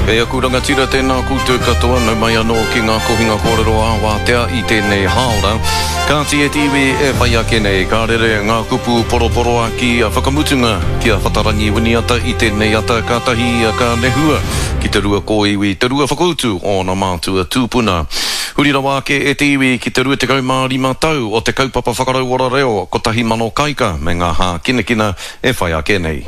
E aku rangatira tēnā koutou katoa, nau mai anō ki ngā kohinga kōrero ā-wātea i tēnei hāora. Kāti e te iwi e whai ake nei, ka rere ngā kupu poroporoaki a whakamutunga ki a Whatarangi Winiata i tēnei ata, kātahi ia ka nehua ki te rua kōiwi, te rua whakautu o ōna mātua tūpuna. Huri rawa ake e te iwi ki te 25 tau o te kaupapa whakarauora reo 1000 Kaika me ngā hākinakina e whai ake nei.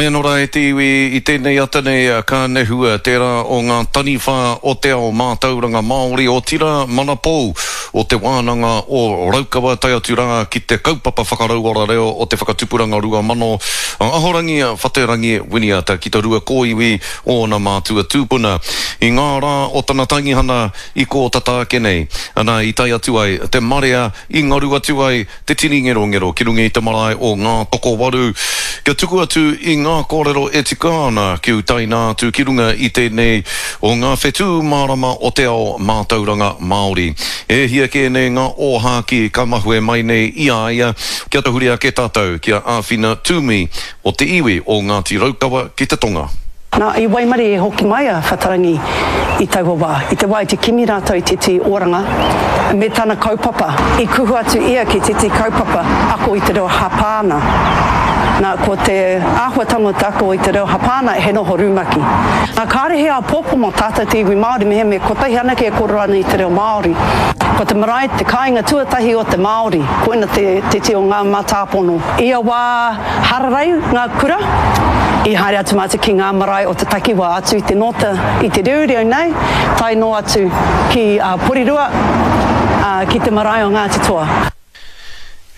Mai anō rā e te iwi, i tēnei ata nei ka nehua tērā o ngā taniwha o te ao mātauranga Māori, otirā manapou o Te Wānanga o Raukawa tae atu rā ki te kaupapa whakarauora reo o te Whakatupuranga 2000, a Ahorangi Whaterangi Winiata ki te rua kōiwi o ōna mātua tūpuna. I ngā rā o tana tangihana i kō tata ake nei, ana i tae atu ai te marea i ngaru atu ai te tini ngerongero ki runga i te marae o Ngātokowaru kia tuku atu i ngā kōrero e tika ana kia utaina atu ki runga i tēnei o ngā whetū mārama o te ao mātauranga Māori. E hia kē nei ngā ōhākī ka mahue mai nei i a ia kia tahuri ake tātou ki a Āwhina Toomey o te iwi o Ngāti Raukawa ki te tonga. Nā, i waimarie hoki mai a Whatarangi i taua wā. I te wā i te kimi rātou i tētehi oranga me tana kaupapa, i kuhu atu ia ki tētehi kaupapa ako i te reo Hapāna. Nā, ko te āhuatanga o te ako i te reo Hapāna he noho rumaki. Nā, kāre he āpōpō mō tātou te iwi Māori mehemea kotahi anake e kōrero ana i te reo Māori. Ko te marae te kāinga tuatahi o te Māori, koina te tētehi o ngā mātāpono. Ia wā Hararei ngā kura, i haere atu mātou ki ngā marae o te takiwā atu i te nōta i te reureu nei, tae noa atu ki Porirua, ki te marae o Ngāti Toa.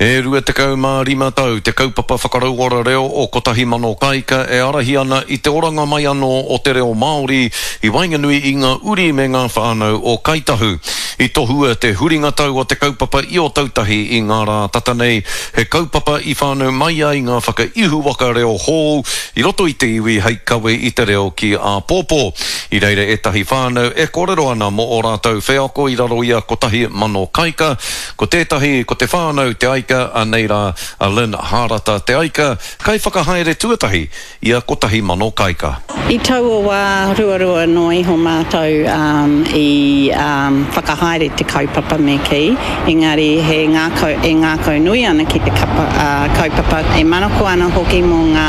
E 25 tau te kaupapa whakarauora reo o Kotahi Mano Kāika e ārahi ana i te oranga mai anō o te reo Māori i waenganui i ngā uri me ngā whānau o Kāi Tahu. I tohua te huringa tau o te kaupapa i Ōtautahi i ngā rā tata nei, He kaupapa i whānau mai ai ngā whakaihuwaka reo hou i roto i te iwi hei kawe i te reo ki āpōpō. I reira ētahi whānau e kōrero ana mō ō rātou wheako i raro i a 1000 Kaika. Ko tētahi ko te whānau Te Aika, anei rā a Lynn Hārata Te Aika, kaiwhakahaere tuatahi i a 1000 Kaika. I taua wā ruarua noa iho mātou i whakahaere te kaupapa me kī, engari he ngākau, e ngākau nui ana ki te kapa, kaupapa, e manako ana hoki mō ngā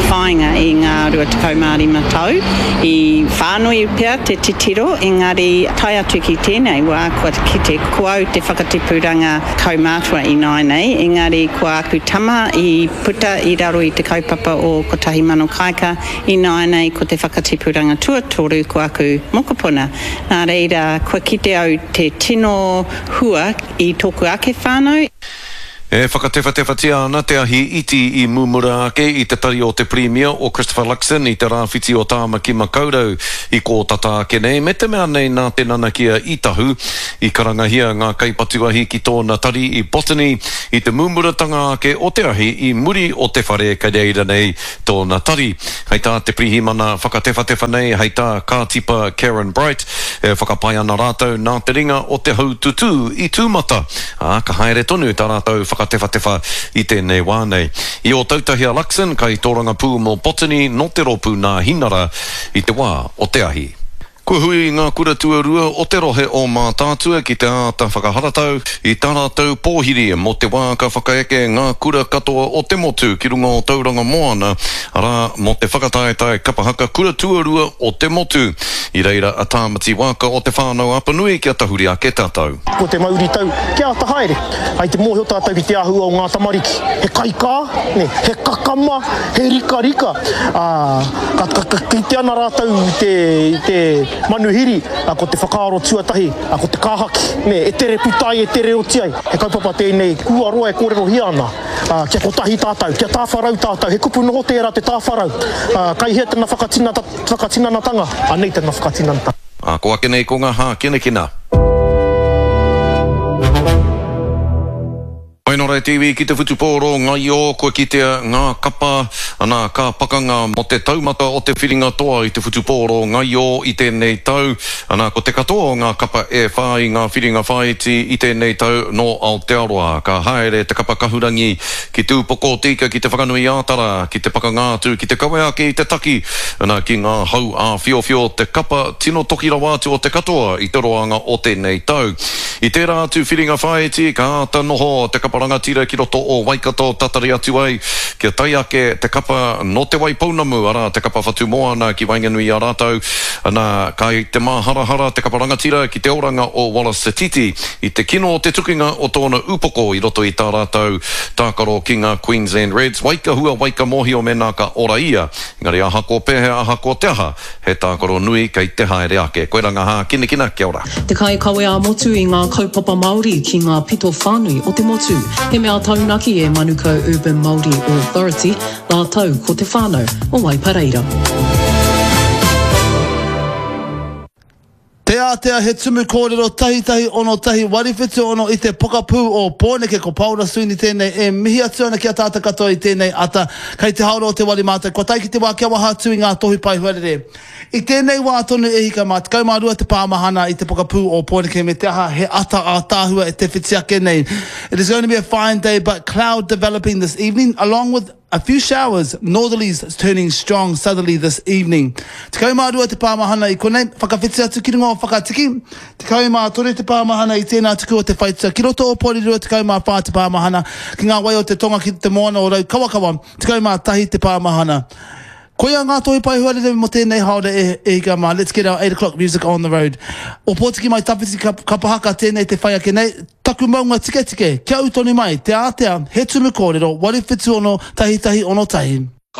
whāinga i ngā 25 tau. I whānui pea te titiro, engari tae atu ki tēnei wā kua kite ko au te whakatipuranga kaumātua ināianei, engari ko āku tama i puta i raro i te kaupapa o 1000 Kāika, ināianei ko te whakatipuranga tuatoru ko aku mokopuna. Nā reira, kua kite au te tino hua i tōku ake whānau. E whakatewhatewhatia ana te ahi iti i mumura ake i te tari o te Pirimia o Christopher Luxon i te rāwhiti o Tāmaki Makaurau i kō tata ake nei, me te mea nei nā te nanakia i tahu. I karangahia ngā kaipatu ahi ki tōna tari i Botany i te mumuratanga ake o te ahi i muri o te whare kei reira nei tōna tari. Hei tā te pirihimana whakatewhatewha nei, hei tā Kātipa Karen Bright, e whakapae ana rātou nā te ringa o te haututū i tūmata, ā, ka haere tonu tā rātou whakatewhatewha i tēnei wā nei. I Ōtautahi a Luxon, kaitōrangapū mō Botany nō te rōpū Nāhinara i te wā o te ahi. Kua hui ngā kura tuarua o te rohe o Mātaatua ki te āta whakaharatau i tā rātou pōhiri mō te wā ka whakaeke ngā kura katoa o te motu ki runga o Tauranga Moana, arā, mō te whakataetae kapa haka kura tuarua o te motu. I reira a Tāmati Waaka o Te Whānau-a-Apanui kia tahuri ake tātou. Ko te mauritau kia āta haere. Hai te mōhio tātou ki te āhua o ngā tamariki. He kaikā, nē, he kakama, he rikarika, ā, ka, ka, ka kite ana rātou i te, i te manuhiri, ā, ko te whakaaro tuatahi, ā, ko te kāhaki, nē, e tere puta ai, e tere oti ai. He kaupapa tēnei kua roa e kōrerohia ana, ā, kia kotahi tātou, kia tāwharau tātou, he kupu noho tērā te tāwharau, ā, kai hea tana whakatinata, whakatinanatanga, anei tana whakatinanatanga. Ā, ko ake nei ko ngā hākinakina. Whai. Hoi nō reira te iwi ki te whutupōro ngaio kua kitea ngā kapa, ana ka pakanga mō te taumata o te whiringa toa i te whutupōro ngaio i tēnei tau, ana ko te katoa o ngā kapa e whā i ngā whiringa whāiti i tēnei tau nō Aotearoa. Ka haere te kapa kahurangi ki Te Upoko o Te Ika ki Te Whakanui-ā-Tara ki te pakanga atu ki te kawe ake i te taki, ana ki ngā hau āwhiowhio te kapa tino toki rawa atu o te katoa i te roanga o tēnei tau. I tērā atu whiringa whāiti, ka āta noho te kapa rangatira ki roto o Waikato tatari atu ai kia tae ake te kapa nō Te Waipounamu, arā, te kapa Whatumoana ki waenganui i a rātou. Nā, kai te māharahara te kapa rangatira ki te oranga o Wallace Sititi i te kino o te tukinga o tōna upoko i roto i tā rātou tākaro ki ngā Queensland Reds. Waikahua, waikamōhio mēnā ka ora ia, engari ahakoa pēhea, ahakoa te aha, He tākaro nui kei te haere ake. Koira ngā hākinakina, kia ora. Te kaikawe ā-motu i ngā kaupapa Māori ki ngā pito whānui o te motu. He mea taunaki e Manukau Urban Māori Authority rātou ko te whānau o Waipareira. Te Ātea He tumu kōrero tahitahi 61 76 i te pokapū o Pōneke Ko Paora Sweeney tēnei e mihi atu ana ki a tātou katoa i tēnei ata Kei te haora o te wari mātou kua tae ki te wā kia waha atu i ngā tohu pae huarere I tēnei wā tonu e hika mā 12 te pāmahana i te pokapū o Pōneke me te aha he ata ātaahua e te whiti ake nei It is going to be a fine day but cloud developing this evening along with A few showers, northerlies turning strong southerly this evening. 12 te pāmahana i konei, whakawhiti atu ki runga o Whakatiki. 13 te pāmahana i tēnā tuku o te whaitua ki roto o Porirua, 14 te pāmahana ki ngā wai o te tonga ki te moana o Raukawakawa, 11 te pāmahana. Koia ngā tohu pae huarere mō tēnei haora e, e hika mā. Let's get our 8 o'clock music on the road. Ōpōtiki mai tawhiti kapa haka tēnei te whai ake nei. Taku maunga tiketike, kia ū tonu mai, te ātea, he tumu kōrero, 876 1161.